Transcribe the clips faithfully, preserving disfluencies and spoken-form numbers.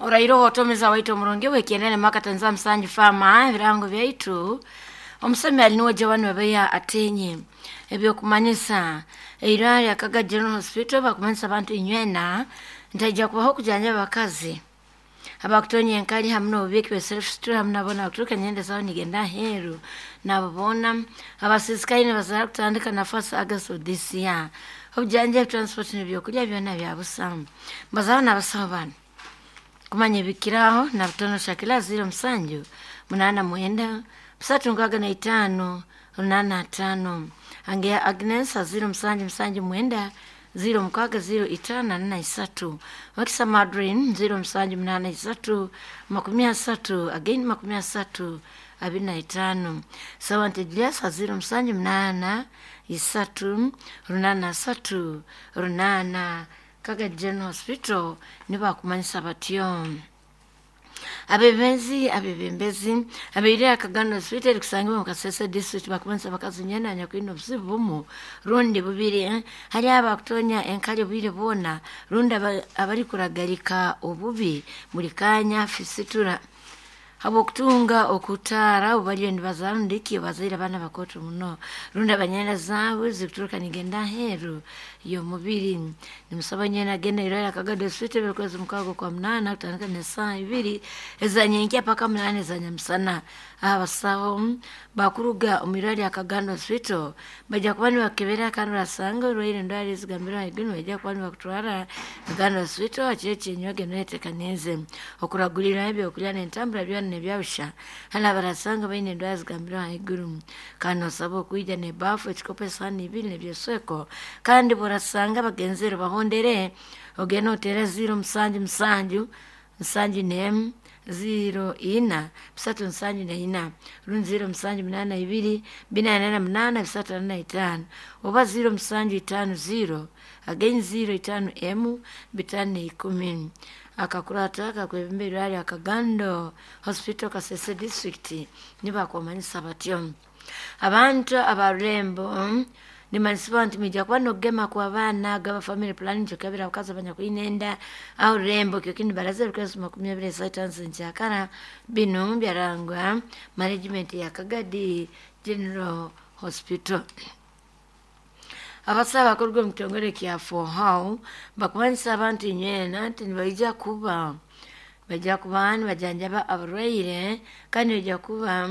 Orairo otomeza waitu omurungi wekienene makatanza msanju fama ebirango byaitu omusemi ali niwe Joan Babeya atenye ebyokumanyisa eirwaro lya Kaga General Hospital bakumanyisa abantu inywena ntaija kubaho kujanjaba abakazi abakutonya enkali hamu n'obubiiki bwe self store hamu nabo nakuturuka nyenda zabo nigenda aheeru nabo boona abasisikaine bazaara kutandika na first August of this year. Obujanjabi, transport n'ebyokulya byona bya busa. Mbazaho n'abasaho bano kumanya ebikiraho na butono shakila ziro musanju munana mwenda bisatu nkaaga na itaano runaana ataano angeya Agnes ziro musanju musanju mwenda ziro mukaaga ziro itaano ana isatu Wakisa Madrin ziro musanju munana isatu makumi asatu again makumi asatu abiri na itaano Sawante Julius ziro musanju munana isatu runaana asatu runaana. Kaga General Hospital nibakumanyisa batyo. Abebembezi abebembezi abeire Akagano Hospital erikusangibwa mu Kasese District bakumanyisa abakazi nyena anyakwine obuzibu bumu rundi bubiri eh? Hali abakutonya enkali obwire bwona rundi abarikuragalika obubi buli kanya fisitura habwokutunga okutaara obu bariyo nibazaara rundiki bazaire abaana bakooto muno rundi abanyenda zaabwe zikuturuka nigenda aheeru y'omubiri. Nimusaba nyena agenda irwaro Akagado Hospital buri kwezi mukaaga okwa munaana kutandika n'esaaha ibiri ezanyenkya paka munaana ezanyamusana. Abasaho bakuruga omu irwaro rya Kagando Hospital baija kuba nibakebera kandi barasanga orwaire endwara ezigambirwe ahaiguru nibaija kuba nibakutwara Kagando Hospital hakiro ekyenywa ogende oyeteekanize okuragulirwa ebyokurya n'entambura byona nebyabusha hali abarasanga baine endwara zigambirwe ahaiguru. Kandi nosaba okwija n'ebaafu, ekikopo, esaani ibiri n'ebyesweko kandi bw'orasanga bagenzere bahondere ogende oteere ziro musanju musanju nsanju n'emu ziro ina bisatu nsanju na ina rundi ziro musanju munaana ibiri bina ana na munaana bisatu ana na itaano oba ziro musanju itaano ziro again ziro itaano emu bitaano na ikumi. Akakurata kakwebemba irwaro lya Kagando Hospital Kasese District nibakumanyisa batyo. Abantu abarurembo nimanyisibwa nti mwija kuba nokugema kw'abaana gaba family planning kyokebera abakazi abanyakwine enda aho rurembo kyokini baraza ebikozeso makumi abiri esaita nkyakara binu byarangwa management ya Kagadi General Hospital. Abasaho abakuruga omu kitongore kya four bakumanyisa abantu inywena nti nibaija kuba baija kuba nibajanjaba abarwaire kandi nibaija kuba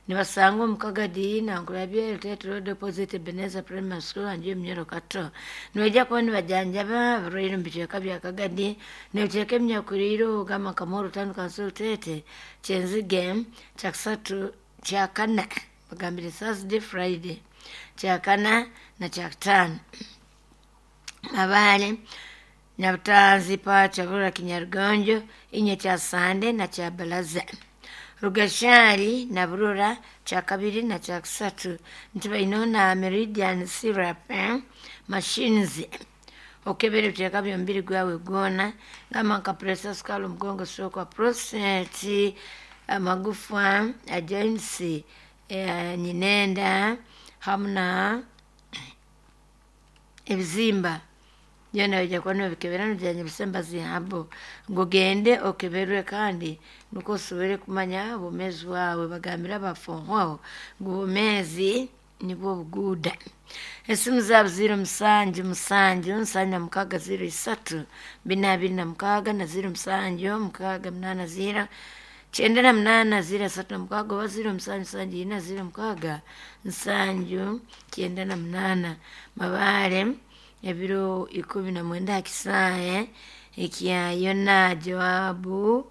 nibasangwa omu Kagadi, Nankulabye, Ruteete Road opposite Ebenezer Primary School hanju y'Eminyoro Kato. Nibaija kuba nibajanjaba abarwaire omu bicweka bya Kagadi n'ebicweka ebinyakuriire gamba nka Moro Town Council Ruteete, Kyenzige, Kyakusatu, Kyakana bagambire Thursday, Friday, Kyakana na Kyakutaano. Mabaale, Nyabutanzi, Pacha, Burra, Kinyarugonjo, Inye Kyasande na Kyabalaza. Rugashari na Burura kyakabiri na kyakusatu nti baineho na Meridian syrup eh? Machines okebera ebicweka by'omubiri gwawe gwona gamba nka pressure, sukali, omugongo, stroke, prostate, amagufa, joints, eh, nyinenda hamu na ebizimba byona baija kuba nibabikebera nibijanjabisa embazi yabo ngu ogende okeberwe kandi nukwo osobole kumanya obwomeezi bwawe. Bagambire abafonhwaho ngu obwomeezi nibwo obuguuda. Esimu zaabo ziro musanju musanju nsanju na mukaaga ziro isatu bina abiri na mukaaga na ziro musanju mukaaga munaana ziro kyenda na munaana ziro asatu na mukaaga oba ziro musanju nsanju ina ziro mukaaga nsanju kyenda na munaana. Mabaale ebiro ikumi na mwenda aha kisaahe ekya Yona Joabu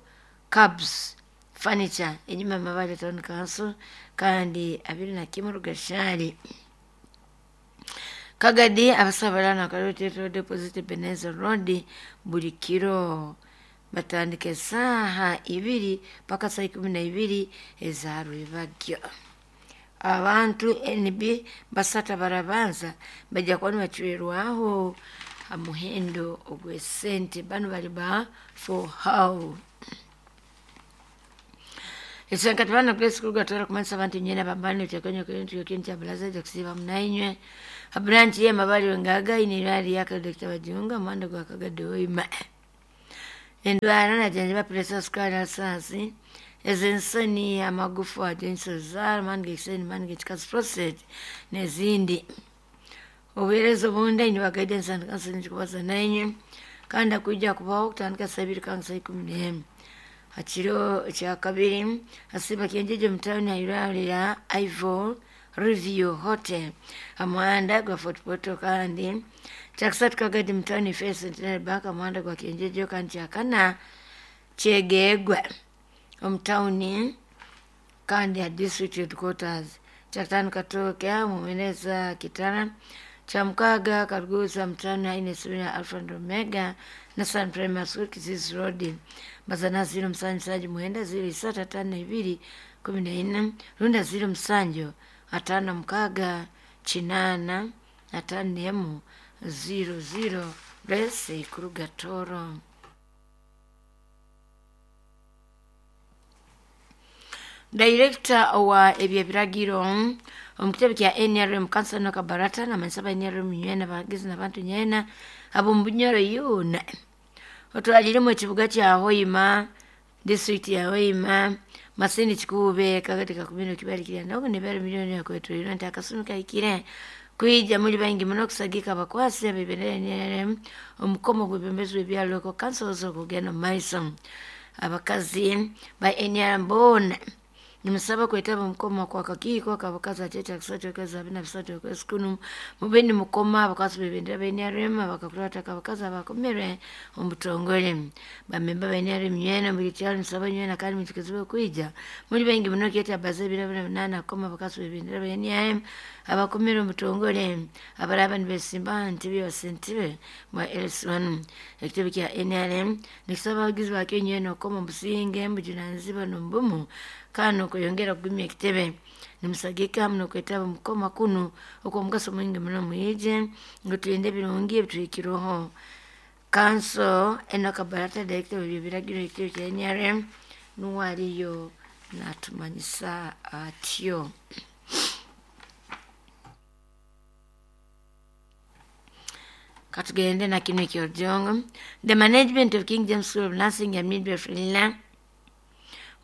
Cabs Furniture enyuma Mabaale Town Council kandi abiri na kimu Rugashari. Kagadi abasaho barara Ruteete Road opposite Ebenezer Road buri kiro batandika esaaha ibiri paka saa ikumi na ibiri eza rwebagyo. Abantu N B basatu abarabanza baija kuba nibacwerwaho ha muhendo ogw'esente banu bali ba for how. Ekisenkati bana Grace kuruga twara kumanyisa abantu inywena bambani ebicweka ekintu kyabalaza kusiiba munainywe ha branch ye Mabaale Wengaga ine irwaro lya Doctor Bajunga omuhanda gwa Kagadi Hoima. Endwara najanjaba pressure, sukali, asasi, ez'ensoni, amagufa, joints, amaani g'ekiseni, maani g'ekikazi, prostate n'ezindi. Obuheereza obundi niba guidance and counseling kubaza nainywe kandi akwija kubaho kutandika saa ibiri kandi saa ikumi n'emu. Ha kiro kyakabiri hasiba Kyenjeje mu tawuni ha ya Ivo Review Hotel ha muhanda gwa Fort Portal, kandi kyakusatu Kagadi mu tawuni First Centenary Bank ha muhanda gwa Kyenjeje, kandi kyakana Kyegegwa omu tawuni kandi ha district headquarters, kyakutaano Katooke Mumeneza Kitara, kyamukaaga Karuguza mu tawuni haine essomero lya Alpha and Omega National Primary School, Kisisi Road. Mazana ziro musanju musanju mwenda ziro isatu ataano ibiri kumi na ina runda ziro musanju ataano mukaaga kinaana ataano emu ziro ziro Bless kuruga Toro. Director wa ebyebiragiro omu kitebe kya N R M Counsel Enock Barata namanyisa ba N R M nywena abahagizi n'abantu nywena ab'omu Bunyoro yoona otwaliremu ekibuga kya Hoima, district ya Hoima, Masindi, Kikuube, Kagadi, Kakumiro, Kibali, Kiryandongo n'ebiro miliyoni yakwetwirwe nti akasumi kahikire kwija muli baingi muno kusagika abakwasi ab'ebendera ya N R M omukomo gw'ebwebembezi bw'ebyaro, local councils, okugenda omu maiso. Abakazi ba N R M boona nimusaba kwetaba omukoma kwa kakiiko k'abakazi akyekya kusatu okwezi abiri na bisatu okwezi kunu mube nimukoma abakwasi b'ebendera ba N R M abakakurataka abakazi abakomerwe omu butongole. Bamemba ba N R M nywena buli kyalo nisaba nywena kandi mwikirizibwe kwija muli baingi muno kyeta baza ebiro abiri na binaana kukoma abakazi b'ebendera ba N R M abakomere omu butongole abaraba nibesimba aha ntebe ya ssentebe bwa L C one. Ekitebe kya N R M nikisaba abahagizi bakyo nywena okukoma omubusinge, mubujunanizibwa n'omubumu kandi n'okweyongera kugumya ekitebe. Nimusagika hamu n'okwetaba omu kukoma kunu okw'omugaso mwingi muno. Mwije ngu tulinde ebirungi ebituhikirweho. Counsel Enock Barata, director w'ebyebiragiro ekitebe kya N R M, nuwe ariyo natumanyisa atyo. Katugende na kino ekyorujongo. The management of King James School of Nursing and Midwifery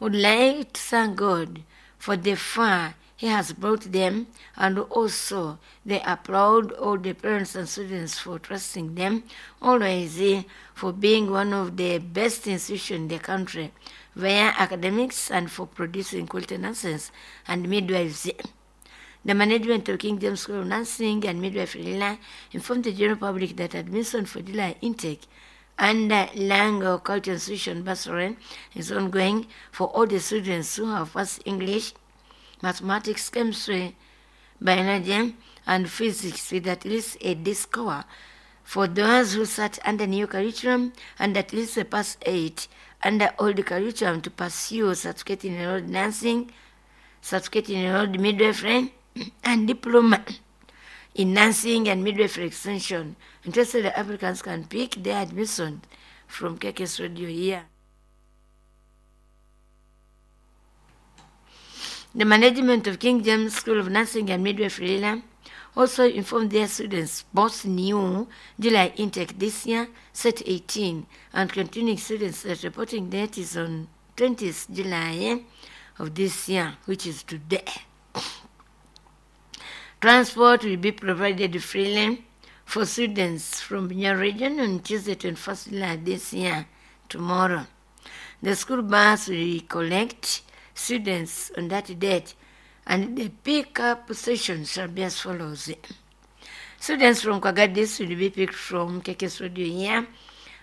would like to thank God for the far he has brought them, and also they applaud all the parents and students for trusting them always, eh, for being one of the best institutions in the country via academics and for producing quality nurses and midwives. The management of King James School of Nursing and Midwifery informed the general public that admission for July intake under Lango Culture Institution Bursary is ongoing for all the students who have passed English, mathematics, chemistry, biology, and physics with at least a D score. For those who sat under new curriculum and at least a pass eight under old curriculum to pursue certificate in enrolled nursing, certificate in enrolled midwifery, and diploma in nursing and midwifery extension. Interested applicants can pick their admission from K K S Radio here. The management of King James School of Nursing and Midwifery also informed their students, both new July intake this year, set eighteen, and continuing students that reporting date is on twentieth July of this year, which is today. Transport will be provided freely for students from Bunyoro region on Tuesday, twenty-first July this year, tomorrow. The school bus will collect students on that date, and the pick-up session shall be as follows. Students from Kagadis will be picked from K K S Radio here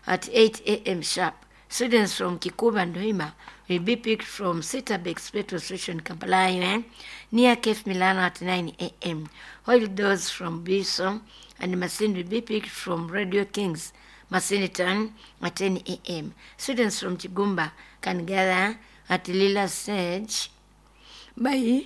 at eight a m sharp. Students from Kikuba and Hoima will be picked from Citabex petrol station, Kampala, near Cafe Milano at nine a m, while those from Biso and Masindi will be picked from Radio Kings, Masindi Town at ten a m. Students from Kigumba can gather at Lila Sage by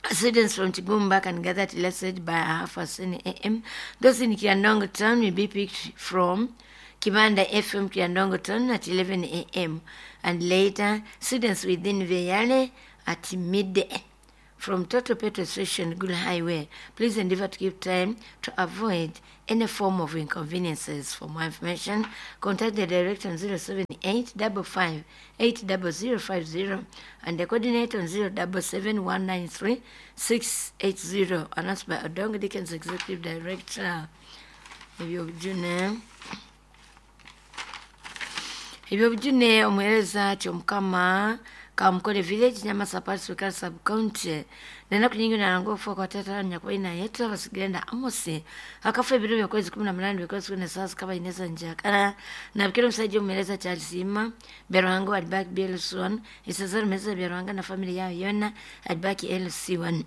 Students from Kigumba can gather at Lila Sage by half past ten a m. Those in Kiryandongo Town will be picked from Kibanda F M Kiryandongo Town at eleven a m and later students within Beyale at midday. from Total Petrol Station, Gulu Highway. Please endeavor to keep time to avoid any form of inconveniences. For more information, contact the director on zero seven eight five five eight zero zero five zero and the coordinator on zero seven seven one nine three six eight zero. Announced by Odongo Dickens, Executive Director. Ebyobujune ebyobujune omuhereza kyomukama Kamukole Village, Nyamasa Parts, Sub County. Nenaku nyingi narango okufa kwa tata nyakubaina yetu abasigenda Amosi akafa ebiro byakwezi kumi na munane byakwezi kumi na sasa kaba ineza njakara nabikira omusajja omuhereza Charles Ima Byaruhanga alibaki B L C one Isazara meza Byaruhanga na family yao yona alibaki L C one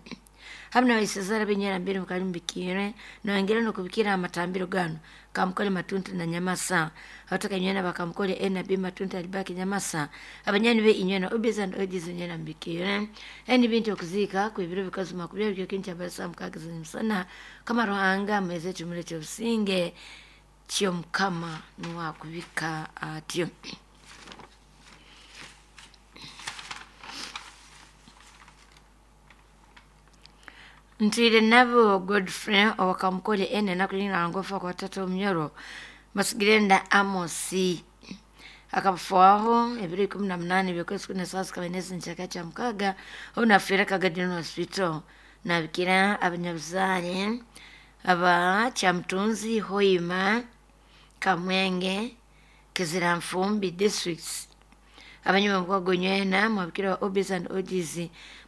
hamna waisazara binyera mbiri mukali mbikire noengera nokubikira amatambiro gano Kamukole Matuntu na Nyamasa hatoka nywena bakamukole N B Matuntu alibaki Nyamasa abanyani be inywena obiza and ojiz nywena mbikire eni bintu okuzika ku ibiro bikazi makubya byo kincha basa mukagiza msana kama Ruhanga mweze chumule chobusinge chiyo mukama nuwa kubika atyo. Ntwire nabo Godfrey owakamukole ene nakulinga ngofa kwa tata omnyoro basigirenda Amosi akafuaho ebiro ikumi na munane byokwezi kumi na sasa kabenezi nchaka cha mukaga onafera Kagadino Hospital nabikira abanyabuzare aba Chamtunzi, Hoima, Kamwenge, Kiziramfumbi districts abanyuma mukwagonywena mwabikira wa Obis and Ogs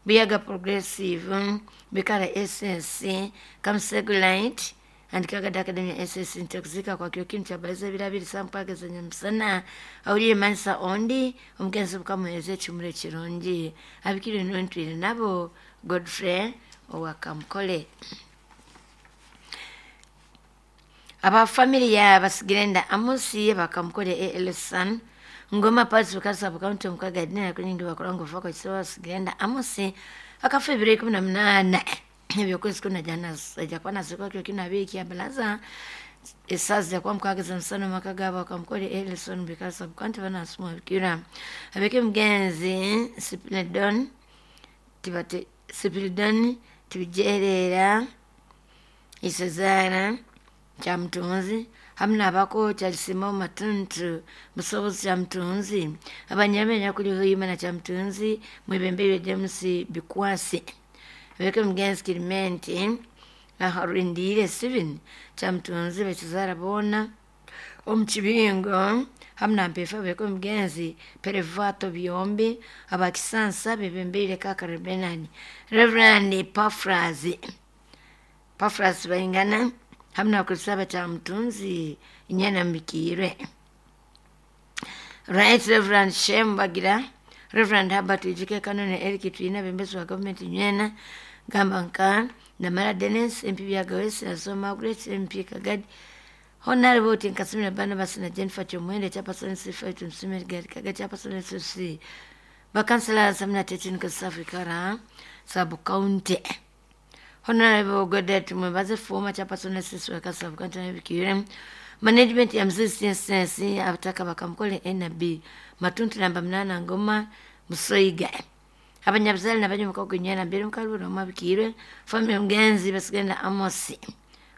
Buyaga Progressive Bikara S S C Kamsegulite and Kagada Academy S S ntakuzika kwa kyo kintu chabaliza birabiri sampageza nyamusana awulire mansa ondi omugenzi bukamuhereza ekimure kirungi abikire nontwire nabo Godfrey owakamukole. Aba family ya basigirenda Amosi bakamukole A L San Ngoma Parts Bukasa County mukaga dina kunyingi bakorango fako chisawa sigenda Amosi akafa ebiro ikumi na munane ebyokwezi kumi na jana jakwana zikwa kyo kina biki abalaza esaza kwa mukageza msano makagaba bakamukole Elson Bukasa County bana asumwa bikira abeke mugenzi Sipilidon tibate Sipilidon tibijerera isezara Chamtunzi hamna bako Chalisimo Matuntu musobozi Chamtunzi abanyamenya kuli huyima na Chamtunzi mwibembere James Bikwasi abeke mugenzi Kilimenti aharindire Steven Chamtunzi bakizara bona omukibingo hamna mpefa abeke mugenzi Perevato Byombi abakisansa bebembere Kakarebenani Reverend Pafrazi Pafrazi baingana hamna kusaba Chamtunzi inyana mbikire Right Reverend Shem Bagira Reverend Herbert Ijike Kanone Eric Twina bembezi wa government nywena Gamba nka Namara Dennis M P Byagawesi na Margaret M P Kagadi Honorable Tinkasimira Barnabas na Jennifer Chomwende Chairperson C five Msimeri Gadi Kagadi Chairperson S C Bakansela Samna Tetin Kasafi Kara Sub County Honorable Godet Mwebaze former Chairperson S C wa Sub County Bikire Management ya Mzizi C S S abataka bakamukole N B Matuntu namba mnana Ngoma Musoiga abanyabuzali nabanyumuka kunyana mbere mukalubura mabikirwe family mugenzi basigenda Amosi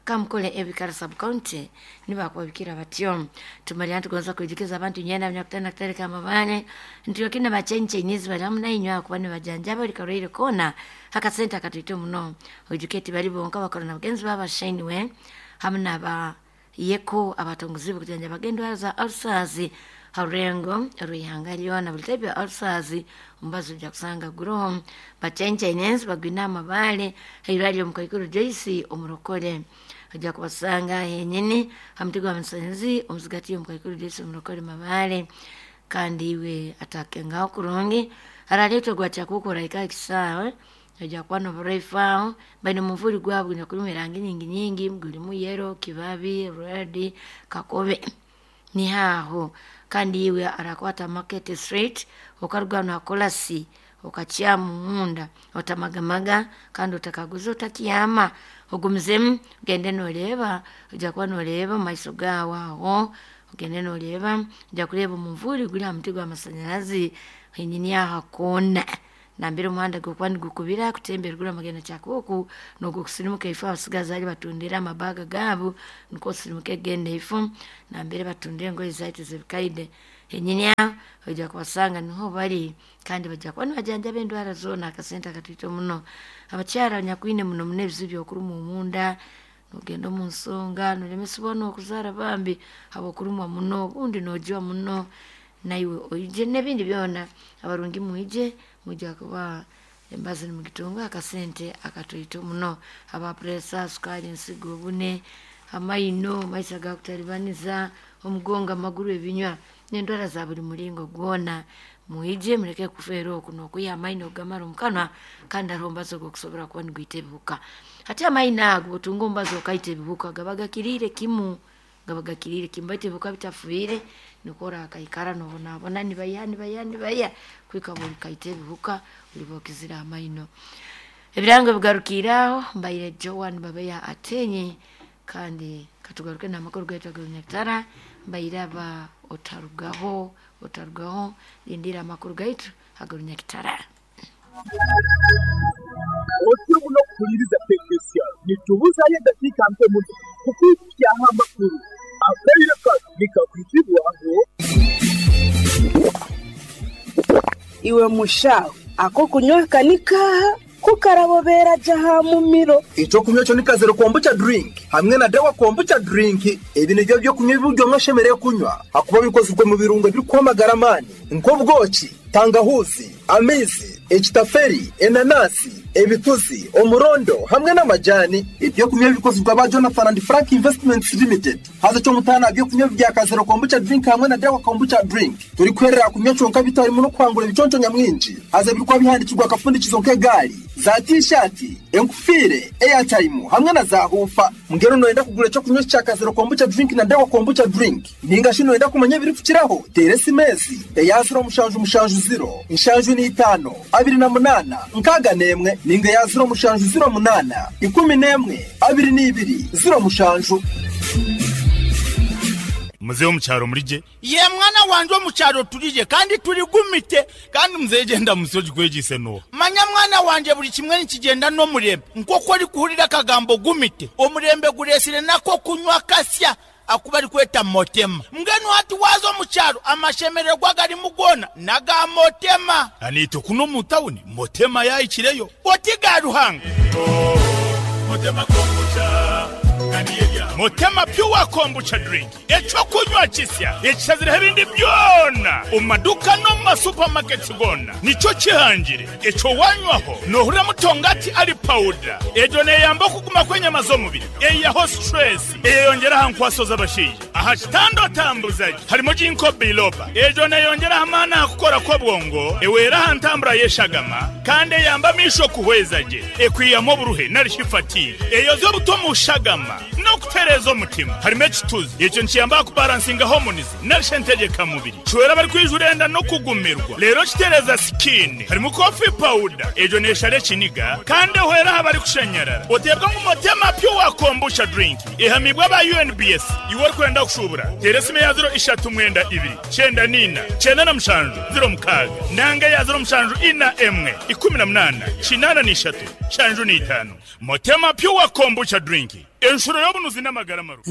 Kamukole Ebikara Sub County nibakwabikira batyo tumalya tugonza kwijikeza abantu nyana banyakutana kutereka amabane ntiyo kina bachenche nyizi bali hamwe nainywa kuba nibajanja bali karwire kona akasenta katwite muno ojuketi bali bonka bakorana bagenzi babashainiwe hamwe naba yeko abatongozi bukujanja bagendo za ulcers harengo ruihanga lyona buli type ya ulcers ombazo ja kusanga guro bachenche nyenzi bagwina amabale hairalyo mukaikuru Joyce omurokole ajja kubasanga henyini hamtigo wa msanzi omuzigati omukaikuru Joyce omurokole mabale kandi iwe atakengaho kurungi araletwa gwachakukora ika kisawe ajja kuba noburaifaho baine omuvuri gwabwe gunyakurimu erangi nyingi nyingi gurimu yero kibabi red kakobe nihaho kandi iwe arakwata market street okaruga nakolasi okakyamu munda otamagamaga kandi otakaguza otakiyama ogumizemu ogende noreeba ojja kuba noreeba omu maiso gaawe aho ogende noreeba ojja kureeba omuvuri guri aha muti gw'amasanyarazi henyini aha koona Nambere omuhanda gokuba nigukubira kutemba eruguru amagenda kyakuku nogwo kusirimuka ifo abasigazi ali batundira amabaga gaabo, nikwo osirimuka egenda ifo nambere batundira engoye zaitu zebikaide henyini aho ojja kubasanga niho bali, kandi bajja kuba nibajanjaba endwara zoona akasente akatwito muno. Abakyara abanyakwine muno muno ebizibu byokurumwa omunda, nogenda omu nsonga nolemesibwa n'okuzaara bambi habw'okurumwa muno, obundi noojwa muno, naiwe oije n'ebindi byona. Abarungi mwije, mwijja kuba embazi nimugitunga akasente akatoito muno. Aba pureesa, sukaali, ensigo, obune, amaino, amaiso agakutalibaniza, omugongo, amaguru, ebinywa n'endwara za buli mulingo gwona, mwije muleke kufeera oku n'okwiha amaino ogamara omu kanwa, kandi hariho omubazi ogw'okusobora kuba nigwita ebihuka. Hati amaino ago bw'otunga omubazi okaita ebihuka gaba gakiriire kimu, gaba gakiriire kimu, baitu ebihuka bitafiire nikwo orakaikara noobonabona nibaiha nibaiha nibaiha kuhika bw'orikaita ebihuka oliba okizire amaino. Ebirango bigarukiire aho, mbaire Joan Babeya Atenyi, kandi katugaruke n'amakuru gaitu ag'orunyakitara. Mbaire aba otarugaho, otarugaho, lindira amakuru gaitu ag'orunyakitara. Otyo muno kuhuliriza tekinisiya nitubuzayo edakiika nke muno kukwikyaho amakuru akaire kano nikakwizibwaho. Iwe mushaho ako kunywa kanikaha kukarabobera jaha mumiro. Ekyokunywa ekyo ni kazero kombucha drink hamwe na dawa kombucha drink. Ebi nibyo byokunywa ebiryo mwashemereire kunywa hakuba bikozirwe mu birungo ebirikwamagara amaani nk'obwoki, tangahuzi, amaizi, ekitaferi, enanasi, ebituzi, omurondo hamwe n'amajani. Ebyokunywa bikozirwe aba Jonathan and Frank Investments Limited. Haza ky'omutaano byokunywa bya kazero kombucha drink hamwe na dawa kombucha drink turikwerera kunywa kyonka bitarimu n'okuhangura ebiconco nyamwingi. Haza birikuba bihandikirwa akafundikizo nk'egaari, za tishati, enkufiire, airtime hamwe na za hufa. Mbwenu noyenda kugura ekyokunywa kya kazero kombucha drink na dawa kombucha drink, ninga shi noyenda kumanya ebirikukiraho, teera esimesi eya ziro mushanju mushanju ziro nshanju n'itaano abiri na munaana nkaaga n'emwe, ninga eya ziro mushanju ziro munaana ikumi n'emwe abiri n'ibiri ziro mushanju. Muzehe omukyaro murije? Ye mwana wanje omukyaro turije kandi turigumite. Kandi muzehe genda musoji kwegise no. Manya mwana wanje buli kimwe nikigenda n'omurembe. Nk'oku orikuhurira akagambo gumite, omurembe guresire nako kunywa kasya akuba arikweta motema. Mbwenu hati waza omukyaro amashemererwa garimu goona naga motema. Anito kuno mu tawuni motema yayikireyo. Oti ga Ruhanga. Motema kombucha. Motema pure kombucha drink ekyokunywa kisya ekishazireho ebindi byona omu maduka n'omu masupamaketi gona, nikyo kihangire ekyo wanywaho nohurira mutongati ali pawuda. Egyo neyamba okuguma kw'enyama z'omubiri, eyihaho stress, eyeyongyera aha nkwaso z'abashaija. Aha kitanda otambuzaje harimo ginkgo biloba, egyo neyongyera amaani aha kukora kw'obwongo, ewera aha ntambura y'eshagama, kandi eyamba amaisho kuhweza gye, ekwihamu oburuhe narishi fatigue, eyoza obuto mu shagama n'okutereeza omutima. Harimo ekituzi, ekyo nikiyamba kubalansinga hormones narishi entegeka-mubiri, kiwera abarikwijura enda n'okugumirwa, reero kitereeza skin. Harimo coffee powder, egyo neeshara ekiniga kandi ehwera aha barikushanyarara. Oteebwa ngu Motema pure kombucha drink ehamibwa aba U N B S. Iwe orikwenda kushubura teera esimu ya ziro ishatu mwenda ibiri kyenda niina kyenda na mushanju ziro mukaaga, nanga ya ziro mushanju ina emwe ikumi na munaana kinaana n'ishatu shanju n'itaano. Motema pure kombucha drink enshuro y'obunuzi n'amagara marungi.